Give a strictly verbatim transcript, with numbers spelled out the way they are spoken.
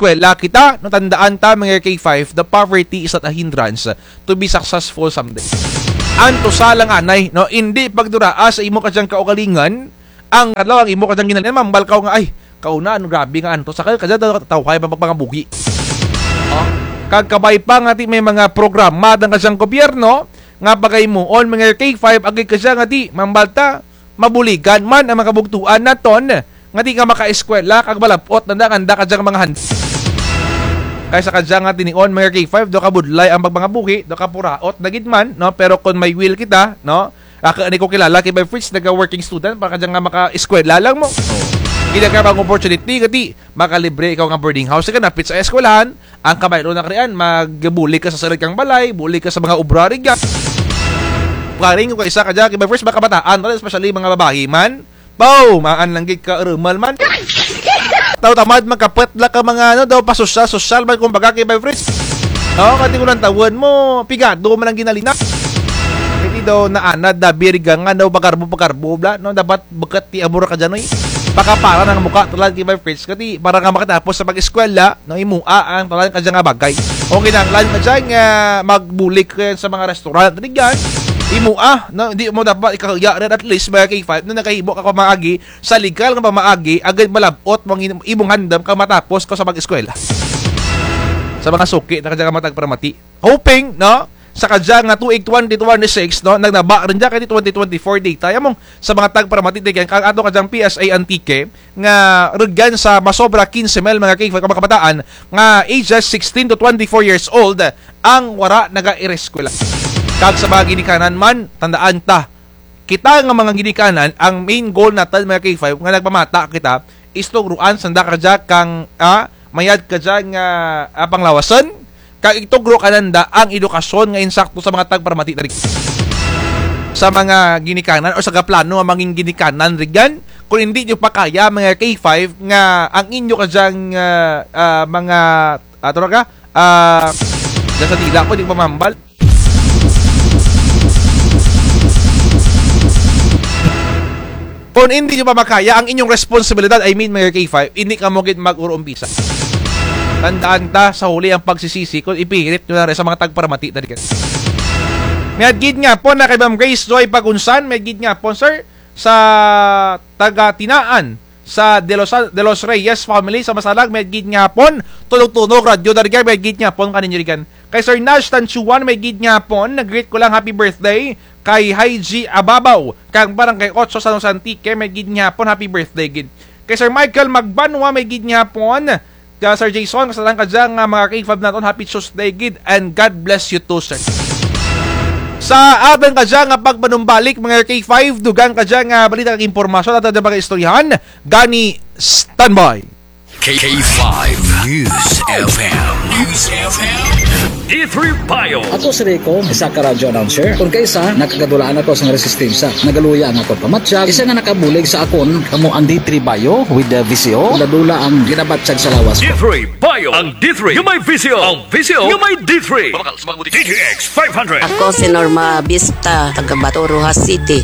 eskwela kita, no, tandaan ta, mga K five, the poverty is not a hindrance to be successful someday. Antusa lang anay, no, hindi pagduraa sa imo kadyang kaugalingon ang adlaw ang imo kadyang ginalinan, mambal ka nga, "Ay, kauna, ano, grabe nga antos sa kayo, kadya daw tawhay pa pagpangabuhi." Oh, kag kabay pa nga ti may mga programa dang kadyang gobyerno nga pagaymuon, mga K five, agi kadya nga ti, mambal ta, mabuligan man ang mga kabugtuan naton nga di ka makaeskwela kag malab-ot na nga anda ka dyang mga handa. Kaysa ka dyan nga tinion, mga K five, do ka budlay ang pagpangabuhi, do ka puraot na gid man, no? Pero kung may will kita, no? Ako, ani ko kilala kay by Fritz, naga-working student, para ka dyan nga maka-eskwela lang mo. Gila ka bang opportunity, kati makalibre ikaw nga boarding house, ka napit sa eskwelahan, ang kabaylo na karian, magbulig ka sa sarili kang balay, bulig ka sa mga obra, rin ka. Karing ko isa ka dyan, kay by Fritz, mga kabataan, especially mga babae man, Bow! Maan lang gid ka rumal man. Taw tamad makapwet la ka mga ano daw, pasosyal-sosyal man, kumbaga, kay by Fritz. Oh, kati ko lang tawon mo, pigado man ang ginalina. Hindi daw naanad, dabi riga nga daw, pagarbo-pagarbo bla, no? Dapat bukat ti amor ka dyan, oy. Pakapara ng mukha talan kay by Fritz. Kati para nga makatapos sa pag-eskwela, no, imua ang talan ka dyan nga bagay. O kinahanglan ka dyan nga magbulig ka sa mga restaurant, rigan. Imua, no, hindi mo dapat ikahiya rin, at least mga K five, no, nakahimo ka pamaagi sa legal nga pamaagi, agad malab-ot mo ang im-, imong handam kag matapos ka sa pag-eskwela. Sa mga suki na kadya nga mga tagparamati. Hoping, no? Sa kadya nga tuig twenty twenty-six, no? Nagnaba rin dyan kay twenty twenty-four data. Yamong sa mga tagparamati, tigyan, kag ato kadyang P S A Antique, nga rugyan sa masobra quince mil mga K five ka mga kabataan nga ages sixteen to twenty-four years old ang wara nag-eskwela. Kag sa mga ginikanan man, tandaan ta, kita nga mga ginikanan, ang main goal natin, mga K five, nga nagpamata kita, is tugruan sanda kadya kang, ah, mayad kadya nga, ah, panglawason, kag itugro kananda ang edukasyon nga insakto sa mga tagparamati na rin. Sa mga ginikanan o sa gaplano nga mangin ginikanan, rigan, kung hindi nyo pa kaya, mga K five, nga ang inyo kadyang, ah, ah, mga, ah, tawag ka, ah, dyan sa dila ko, di ko mamambal. Kung hindi nyo pa makaya ang inyong responsibilidad, I mean, mga K five, hindi ka mo gid mag-urumpisa. Tandaan ta, sa huli ang pagsisisi kung ipilit nyo na rin sa mga tagparamati na rin. May gid nga po na kay Ma'am Grace Joy Pagunsan, may gid nga po, sir, sa taga Tinaan, sa De Los, De Los Reyes family, sa Masalag, may gid nga po, tunog-tunog, radyo, darigan, may gid nga po, kaninyo rigan. Kay Sir Nash Tanchuan, may gid nga po, nag-greet ko lang, happy birthday. Kay Haiji Ababaw, kang Barangay Ocho, San Jose Antique, may gid nga po, happy birthday gid. Kay Sir Michael Magbanwa, may gid nga po, ka Sir Jason, kasalang ka dyan nga mga K five naton, happy Tuesday gid, and God bless you too, sir. Sa atang ka dyan nga pagpanumbalik, mga K five, dugang ka dyan nga balita kag impormasyon, ato dyan mga istoryahan, gani, standby. K five News F M. News F M. D three Bio. Ako si Rico, isa ka radio announcer. Kung kaisa, nakagadulaan ako sa resistensya. Nagaluya ang akon pamatyag. Isa nga nakabulig sa akon, kamo ang D three Bio with the V C O. Dula-dula ang ginabatyag sa lawas ko. D three Bio. Ang D three nga may V C O. Ang V C O nga may D three. Mabakal sa mga butik. D T X five hundred. Ako si Norma Vista, taga Bato, Roxas City.